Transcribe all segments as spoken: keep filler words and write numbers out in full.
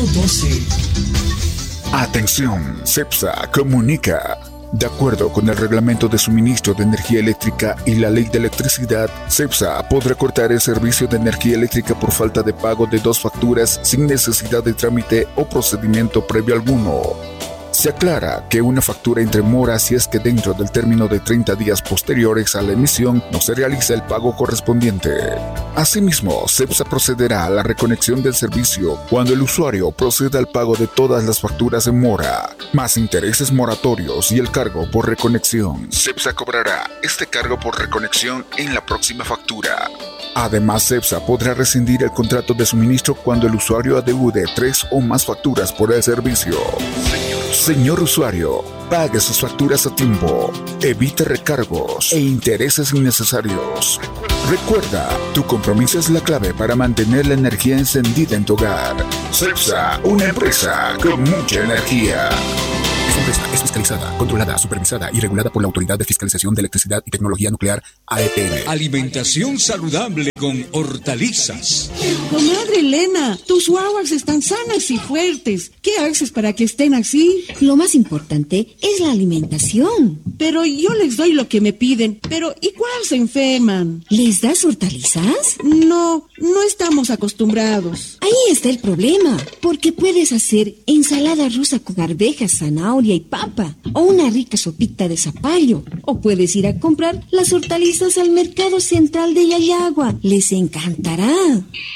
doce. Atención, CEPSA comunica. De acuerdo con el Reglamento de Suministro de Energía Eléctrica y la Ley de Electricidad, CEPSA podrá cortar el servicio de energía eléctrica por falta de pago de dos facturas sin necesidad de trámite o procedimiento previo alguno. Se aclara que una factura entre mora si es que dentro del término de treinta días posteriores a la emisión no se realiza el pago correspondiente. Asimismo, CEPSA procederá a la reconexión del servicio cuando el usuario proceda al pago de todas las facturas en mora, más intereses moratorios y el cargo por reconexión. CEPSA cobrará este cargo por reconexión en la próxima factura. Además, CEPSA podrá rescindir el contrato de suministro cuando el usuario adeude tres o más facturas por el servicio. Señor usuario, pague sus facturas a tiempo, evite recargos e intereses innecesarios. Recuerda, tu compromiso es la clave para mantener la energía encendida en tu hogar. CEPSA, una empresa con mucha energía. Esta empresa es fiscalizada, controlada, supervisada y regulada por la Autoridad de Fiscalización de Electricidad y Tecnología Nuclear, A E P N. Alimentación saludable con hortalizas. Comadre Elena, tus guaguas están sanas y fuertes. ¿Qué haces para que estén así? Lo más importante es la alimentación. Pero yo les doy lo que me piden. Pero igual se enferman. ¿Les das hortalizas? No, no estamos acostumbrados. Ahí está el problema, porque puedes hacer ensalada rusa con arvejas, zanahoria y papa, o una rica sopita de zapallo, o puedes ir a comprar las hortalizas al mercado central de Llallagua. Les encantará.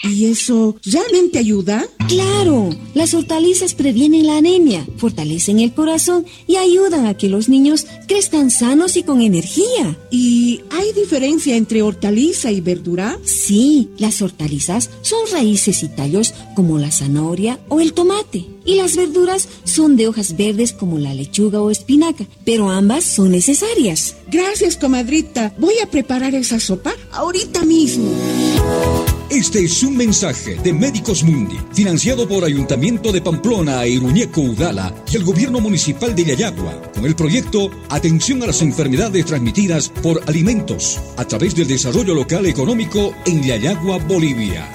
¿Y eso realmente ayuda? ¡Claro! Las hortalizas previenen la anemia, fortalecen el corazón y ayudan a que los niños crezcan sanos y con energía. ¿Y hay diferencia entre hortaliza y verdura? Sí, las hortalizas son raíces y tallos como la zanahoria o el tomate. Y las verduras son de hojas verdes como la lechuga o espinaca, pero ambas son necesarias. Gracias, comadrita. Voy a preparar esa sopa ahorita mismo. Este es un mensaje de Médicos Mundi, financiado por Ayuntamiento de Pamplona e Iruñeco Udala y el Gobierno Municipal de Llallagua, con el proyecto Atención a las Enfermedades Transmitidas por Alimentos, a través del Desarrollo Local Económico en Llallagua, Bolivia.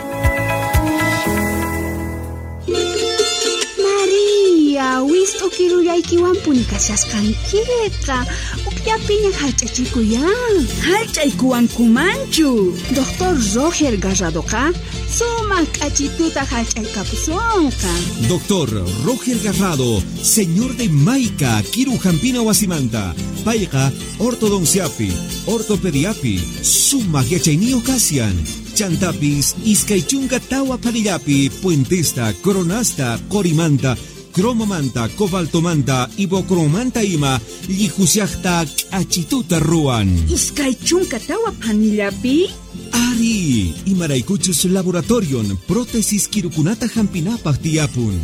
María, wist'ukirullaykiwanpuni kashasqankiqa, ukllapiña hallch'achikuyan. Hallch'aykuwankumanchu. Doctor Roger Garradoqa sumaq k'achituta hallch'aykapusunqa. Doctor Roger Garrado, señor de Maica, Kirujampina wasimanta, payqa ortodonciapi, ortopediapi, sumaq yachayniyuq kashan. Chantapis, iskay chunka tawa panillapi, puentesta, coronasta, corimanta, cromomanta, cobaltomanta, ibocromanta ima, llijusiajta, k'achituta ruwan. Iskay chunka tawa panillapi? Ari, imaraykuchus laboratorion, prótesis kirukunata hampinapaj tiyapun.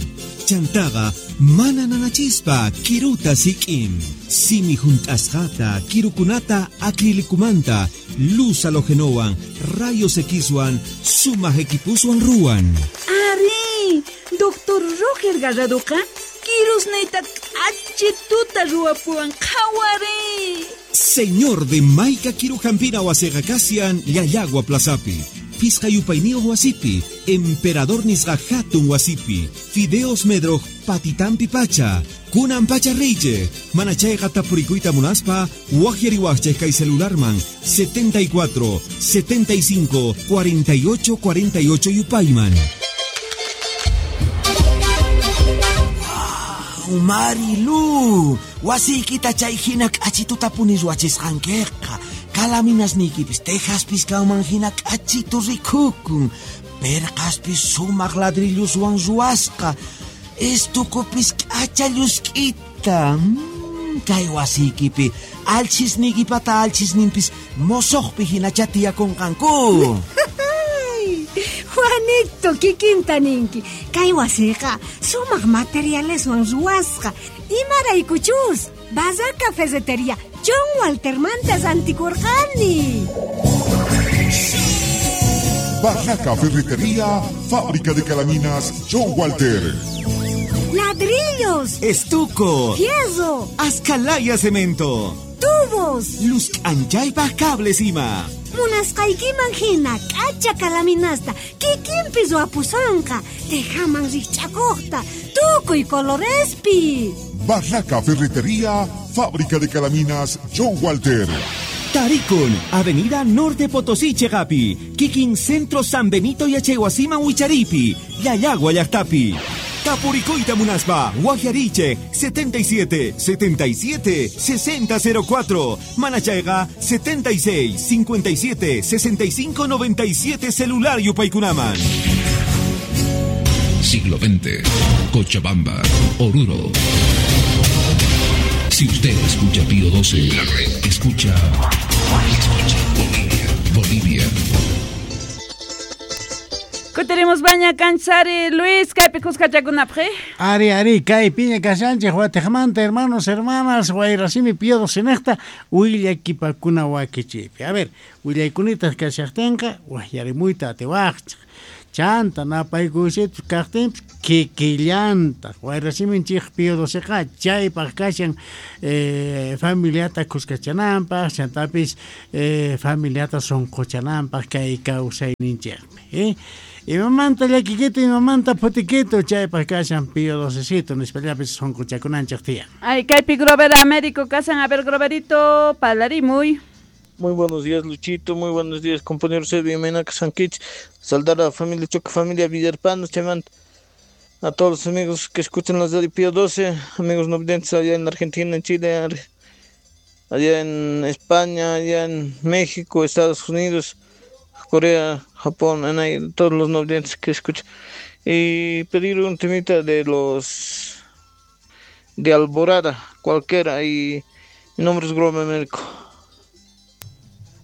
Chantaqa, mana nanachispa, kiruta sik'in. Simi junt'asqata, kirukunata acrilicumanta, luz halogenowan, rayos Xwan, sumaq equipuswan ruwan. Ari, Doctor Roger Garradoqa, kirusniyta k'achituta ruwapuwan qhawari. Señor de Maica Kirujampina wasiqa kashan Llallagua Plazapi, Pisqa yupayniyuq wasipi, Emperador nisqa hatun wasipi, Fideos Medroj patitampi pacha, kunan pacha reyche, manachayqa tapurikuyta munaspa, waqyariwaqchej kay celularman setenta y cuatro, setenta y cinco, cuarenta y ocho, cuarenta y ocho yupayman. Marilu, wasiykita chay hina k'achituta puni ruwachisqankiqa. Kalaminasniykipis tejaspis kanman hina k'achitu rikukun. Perqaspis sumaq ladrilluswan ruwasqa. Estukupis k'acha llusk'ita. Mm, kay wasiykipi alchisniykipata alchisninpis mosoqpi hinacha tiyakunqanku. Juanito, kikinta ninki. Kay wasiqa sumaq materialeswan ruwasqa. Imaraykuchus, Barraca Ferretería John Waltermanta rantikurqani. Barraca Ferretería, fábrica de calaminas John Walter. Ladrillos, estuco, fierro, ascalaya cemento, Tubos. Luz k'anchaypaj cables ima. Munasqaykiman hina k'acha kalaminasta kikinpi ruwapusonqa, tejaman rijch'akuqta, tukuy colorespi. Barraca Ferretería, Fábrica de Calaminas, John Walter. Tarikun, Avenida Norte Potosí, Chegapi, Kikin Centro San Benito Yachaywasiman Wicharipi, Llallagua llaqtapi. Tapuricoita Munaspa, Guajariche, setenta y siete, setenta y siete, sesenta cero cuatro, Manachayga, setenta y seis, cincuenta y siete, sesenta y cinco, noventa y siete, celular Yupaykunaman. Siglo veinte, Cochabamba, Oruro. Si usted escucha Pío doce, la red escucha, escucha Bolivia, Bolivia. Kutiremos baña canchari Luis, kaypi kuskachakunapaj. Ari, ari, kaypiña kashanchej watejmanta, hermanos, hermanas, wayrasimi Pío doce nejta, willakipakuna wakichipi. A ver, willaykunitaq kashaqtinqa, wajyarimuyta atiwaqchej. Chanta napaykusitus kaqtinpis kikillantaq wayrasiminchik Pío doceqa chaypaq kashan eh, familiata kuskachananpaq, chantapis eh, familiata sunquchananpaq kay kawsayninchikpi. Eh? Imamanta llakikito, imamanta phutikito, chaypaq kashan Pío docecito, nispallapis sunquchakunanchik tiyan. Ay, kaypi Grover Américo kasan, a ver Groverito, parlarimuy. Muy buenos días, Luchito. Muy buenos días, compañero Sergio Menaka Sanquich. Saldar a la familia Choca, familia Villarpano, Chamant. A todos los amigos que escuchan las de Pío doce, amigos no videntes allá en Argentina, en Chile, allá en España, allá en México, Estados Unidos, Corea, Japón, en ahí, todos los no videntes que escuchan. Y pedir un temita de los de Alborada, cualquiera, y mi nombre es Grover Américo.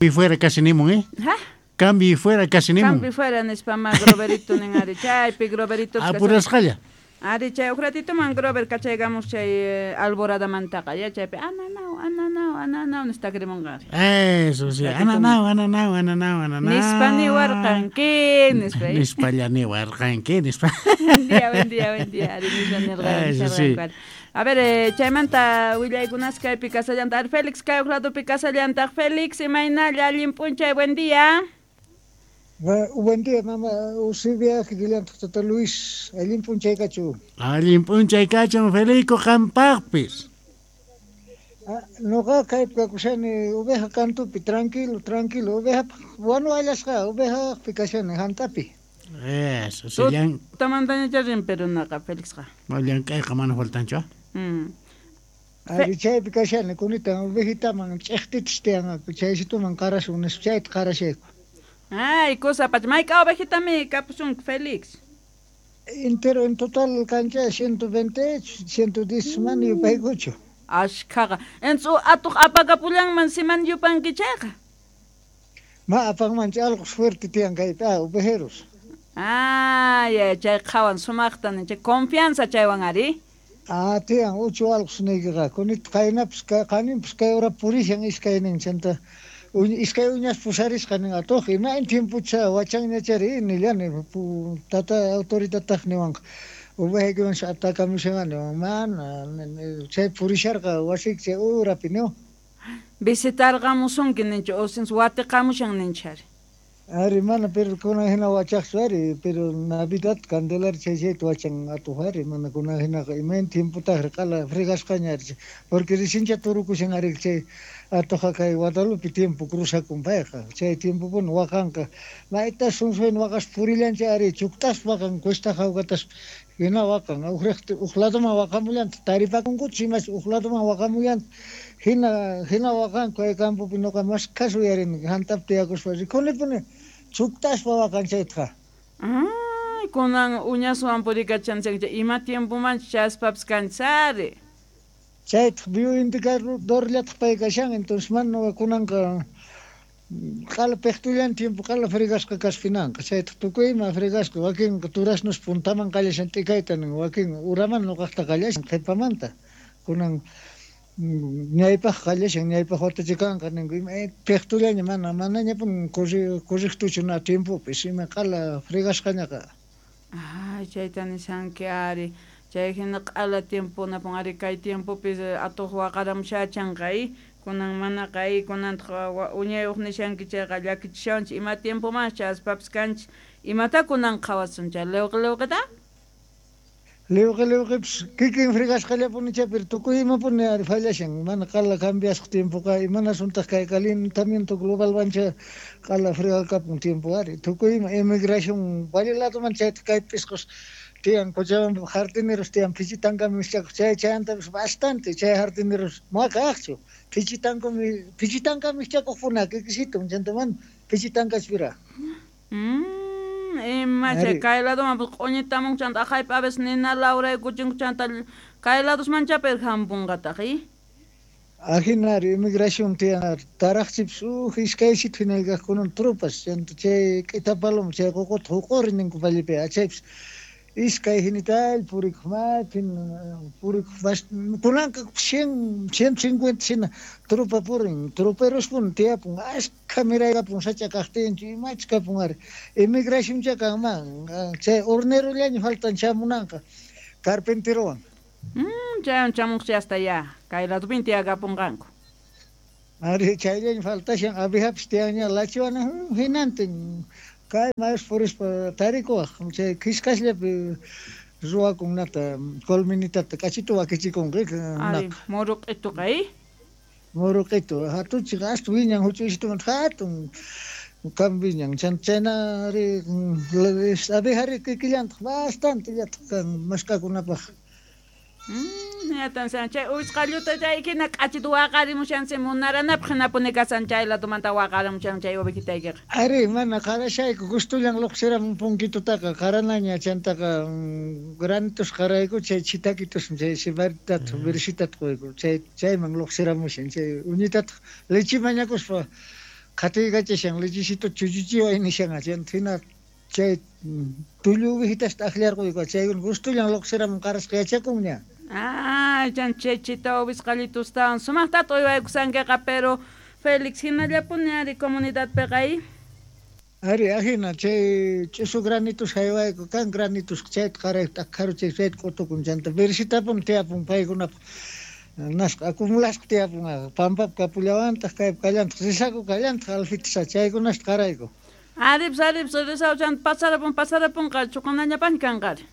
Y fuera casi nimon, ¿eh? ¿Ah? Cambio y fuera casi nimon. Cambio y fuera nispama Groverito nin ari chaypi Groverito. Apurasqalla. Ari chay uj ratito man Grover kachaygamos chay eh, Alborada mantaqa ya chaypi ananau ananau ananau nistakrimunqa. Eso sí, ananau ananau ananau ananau. Nispa niwarqanki nispa. Nispalla niwarqanki nispa. Buen día, buen día, buen día. Ari nispa nirqan. Eso sí. A ver, eh, chaymanta willaykunas kaypi kasallantaq Félix kay uj ladopi kasallantaq Félix imaynalla allin p'unchay, buen día. Buen día, mamá. Usibia, kikillantaq tata Luis, allin p'unchay kachu. Allin p'unchay kachun Felico qampaqpis. Noqa kaypi kakushani oveja kantupi, tranquilo, tranquilo, oveja wanu allasqa, ovejaqpi kashani hantapi. Eso, sí, llan... Tamantaña rin perunaqa Félixqa. Llank'ayqa mana faltanchu, ah? Mm. Ari chaypi kashani kunita ovejitaman ch'eqtitas tiyanqaku, chaysituman qarasun nispa chayta qarashayku. Ay, cosa pacha, mayka ovejitami kapusunki Félix. Entero en total cancha ciento veinte, ciento diez man yupaykuchu. Ashkhaqa. Entonces atuq apakapullanman siman yupanki chayqa. Ma apanman chay alqos fuerte tiyan kaypi, ah, ovejeros. Ah, ya, chay qhawan sumaqta chay confianza chaywan ari. Ah, tiyan uchu alqos niykiqa, kunita qaynapis qaninpis kay hora purishan iskaynin chanta iskay uñas pusarisqa nin atuq imayn tiempocha wachanñachari nillani tata autoritataq niwanqa ovejaykiwan atakamushan niwan mana chay purisharqa wasiyki chay urapi niwan. Visitarqamusunki ninchu osins watiqamushan ninchari. Ari mana pero kunan hina wachaqchu ari pero Navidad Candelaria chay chayta wachan atuq ari mana kunan hinaqa imayn tiempotaqri qala fregasqaña ari porque risincha turukushan ari chay atuqa kay Guadalupe tiempo cruzakun payqa chay tiempopuni waqanqa mayta sunsuyn waqas purillancha ari chuktaspa waqan cuesta jawkataspa hina waqan uj uj ladoman waqamullanta taripakunkuchu imachu uj ladoman waqamullanta hina hina waqanku kay campopi nuqa mashkhas uyarini hantapi tiyakuspa rikunipuni chuktaspa waqan chaytaqa. Ay, kunan uñaswan purikachanchik ima tiempomanchu chaspapis kanchari. Chaytaq bioindicadorllataq pay kashan entonces mana kunanqa qala piqtullan tiempo qala fregasqa kaspinanqa chaytaq tukuy ima fregasqa wakinqa turasnos puntaman qallashan t'ikayta nin wakin uraman nuqaqta qallashan qhipamanta kunan ñaypaq qallashan ñaypaq watachikanqa ninku ima piqtullaña mana manañapun correctochu na tiempopis ima qala fregasqañaqa. Ay, chayta nishanki ari. Chay hina q'ala tiempo napun ari kay tiempopis atuq waqaramushachanqa Kunan manaqa ay kunantaq uñayuq nishanki chayqa llakichishawanchik ima tiempomanchik chaspapis kanchik imata kunan qhawasun chay liwqi liwqita? Liwqi liwqipis kikin fregasqallapuni pero tukuy imapuni ari fallashan mana qala cambiasqa tiempoqa imanasuntaq kay calentamiento global wancha qala fregakapun tiempo ari tukuy ima emigración valle ladoman chayta kay pisqos tiyan Cochabamba jardineros tiyan pichitankami mischakuq chay chayantapis bastante chay jardineros maqaqchu pichitankami pichitankami mischakuqpuna kikisito chanta mana pichitankachpira. Mm, ima chay kay ladoman q'uñitamun chanta aqhaypi a veces nina lawraykuchinku chanta kay ladosman chapir hampunqataq i Ajinari emigración tiyan taraqchipis uj iskaysitu hina kaqkunan tropas chanta chay k'ita paloma chay ququta huq'uri ninku vallepi achaypis iskay hinital purikuq maypi purikuq kunanqa cien ciento cincuenta hina tropa purin troperospuni tiyapun ashkha miraykapun sacha kaqtinchu imachus kapun ari emigracioncha kanman chay hornerollaña faltan chamunanqa carpinterowan. Mm, chaywan chamuqchi hasta ya kay ladopin tiyakapunqanku. Ari chayllaña faltashan abejapis tiyanña lachiwana hinantin kay mayus purispa tarikuwaq chay qhiskasllapi ruwakun nata colminitata k'achitu wakichikunqa ari muru q'ituqa i muru q'itu hatuchik asta wiñan huch'uysitumanta hatun kan wiñan chanta chayna ari abejari kikillantaq bastante llataq kan mask'akunapaq. Mm, yatan chay uwisqalluta chay hina k'achitu waqarimushansi munaranapaq hinapuni kasan chay ladomanta waqarimushan chay ovejitaykiqa. Ari mana qarashayku gustullan luqsiramun punkitutaqa qaranaña chantaqa granitos qarayku chay chitakitus chay cibaritata versitata quyku chay chayman luqsiramushan chay uñitataq leche mañakuspa qhatiykachashan lechecito chuchuchiway nishan chanta hina chay tullu ovejitasta aqllarquyku chaykuna gustullan luqsiramun qarasqa yachakunña. Ah, chan chechita ovisqallitustawan sumaqtata uywaykusankiqa pero Félix hinallapuni ari comunidadpiqa i Ari ajina chay ch'usu granitos haywayku kan granitos chayta qarayku t'aqharu chay chayta q'utukun chanta versitapun tiyapun paykunapaq nasqa acumulasqa tiyapun pampapi kapullawantaq kaypi kallantaq risaku kallantaq alfitisa chaykunasta qarayku. Aripis aripis risaku chanta pasarapun pasarapunqa chuqanañapaqña kanqari.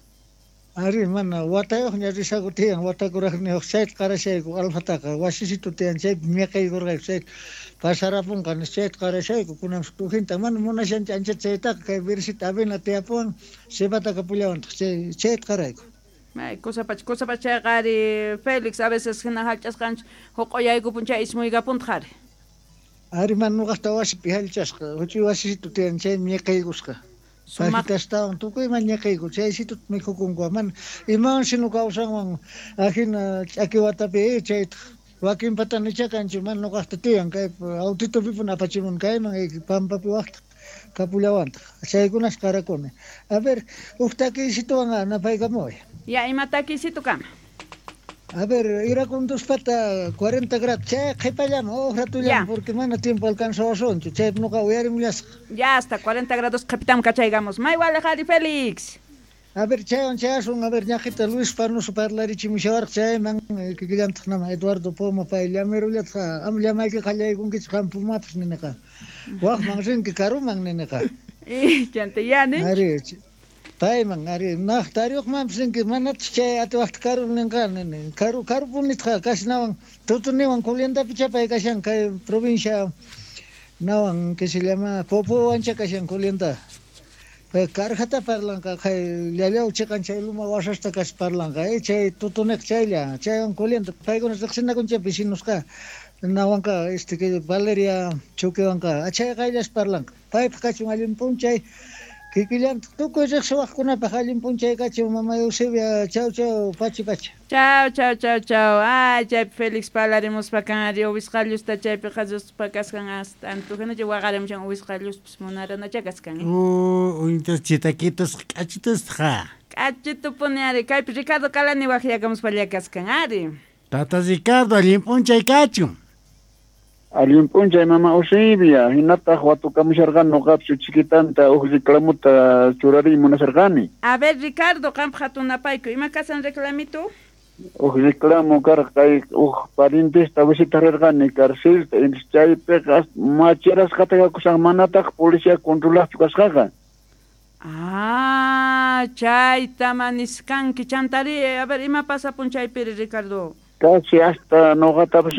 Ari mana watayuqña risaku tiyan watakuraqniyuq chayta qarashayku alfataqa wasisitu tiyan chaypi miqaykurqayku chayta pasarapunqa nispa chayta qarashayku kunanpis tujinta mana munashanchik anchata chaytaqa kay versita avena tiyapuwan cebata kapullawantaq chay chayta qarayku. May kusapacha kusapacha chayqa ari Félix a veces hina hallch'asqanchik huq'uyaykupun chay ismuykapuntaq ari. Ari mana ñuqaqta wasipi hallch'asqa huch'uy wasisitu tiyan chay miqaykusqa. Pajitastawan tukuyman ñiqayku chaysituta mikhukunku mana imawansi ñuqa kawsanwan ajina ch'aki watapi chaytaq wakinpata nichakanchik mana ñuqaqta tiyan kay autitupipuni apachimun kayman pampapi waqtaq kapullawantaq chaykunas qarakuni. A ver huk takiysituwan napaykamuway. Ya ima takiysitu kama. A ver, irakunduspata cuarenta grados, chay qhipallaman huk ratullaman porque mana tiempo alcanzawasunchu chay ñuqa uyarimullasaq. Ya hasta cuarenta grados qhipitam kachaygamos. May waliq ari Félix. A ver, chaywan chayasun, a ver, ñaqita Luis Parnoso parlarichimushawarqa chayman kikillantaq nama Eduardo Poma pay llamirullataq am llamayki qallaykunkichik qam Pumapis niniqa. Waqman rinki karuman niniqa. Chanta ya nin. Ari payman ari naq tariyuqmanpis rinki manataq chay atiwaqta karu ninqa nini karu karupunitqa kasnawan tutuniwan Culiandapi chapay kashan kay provincia nawan que se llama Popowancha kashan Culianda. Karjata parlanqa kay llallaw chiqan chay luma wasasta kas parlanqa eh chay tutuniq chaylla chaywan Culianda paykuna riqsinakunchik vecinosqa nawanqa este que Valeria Chuquiwanqa achay qayllas parlanqa paypaq kachun allin p'unchay kikillantaq tukuy riqsiwaqkunapaq allin p'unchay kachun mama Eusebia chau chau pachi pachi. Chau chau chau chau ay chaypi Félix parlarimuspa kan ari uwisqallusta chaypi qhasuspa kasqan hasta antuhinacha waqarimushan uwisqalluspis munaranacha kasqan. Uh, uñitas chitakitas k'achitusqa. K'achitupuni ari kaypi Ricardo Calani waqyakamuspalla kasqan ari. Tata Ricardo allin p'unchay kachun. Allin p'unchay mama Eusebia hinataq watukamusharqani ñuqapis chiquitanta huk reclamuta churariy munasharqani. A ver Ricardo qampaq hatunapayku ima kasan reclamito? Uj reclamo karqa kay uj parientesta visitarerqani carcelta, chaypiqa macherasqata kakushan manataq policía controlaqchu kasqaqa. Ah, chayta maniskanki chantari, a ver, ima pasapun chaypiri, Ricardo? Casi hasta noqatapas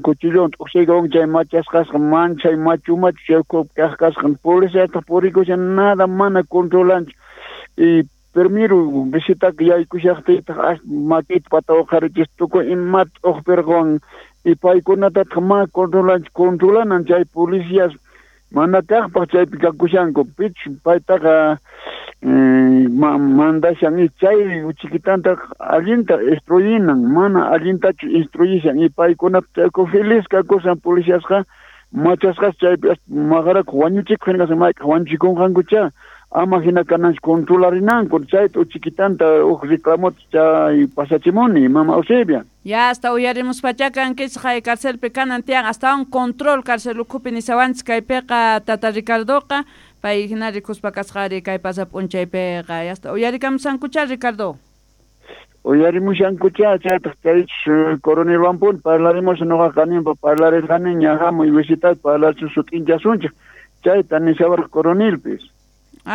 cuchillón t'uqsiykawan chay machasqasqa manchay machu machu chay kaq kasqan policiataq purikushan nada mana controlanchu y primero visitaka yaykushaqtiytaq makita pata uqharichis tukuy imata t'uqpirqawan y paykunatataq mana controlanchu controlanan chay policías mana kaqpaq chaypi kakushanku pichus paytaqa mandashan y chay chiquitantaq allinta instruyinan mana allintachu instruyishan y paykunata chayku feliz kakushan policiasqa machasqas chaypi maqarakuq wañuchikuq hina kashan mayk'aq wañuchikunqankucha ama hina kananchik controlarinanku chayta chiquitanta uj reclamota chay pasachimuni mama Eusebia. Ya hasta uyarimuspacha kankichik hay carcelpi kanan tiyan hasta un control carcel ukhupi nisawanchik kaypiqa tata Ricardoqa pay hina rikuspa kasqari kay pasa p'unchaypiqa hasta uyarikamusankucha Ricardo. Uyarimushankucha chaytaq chaychus coronelwanpuni parlarimus noqa qaninpa parlarirqaniña hamuy visitar parlachu sut'inchasunchik chayta nisawarqa coronelpis.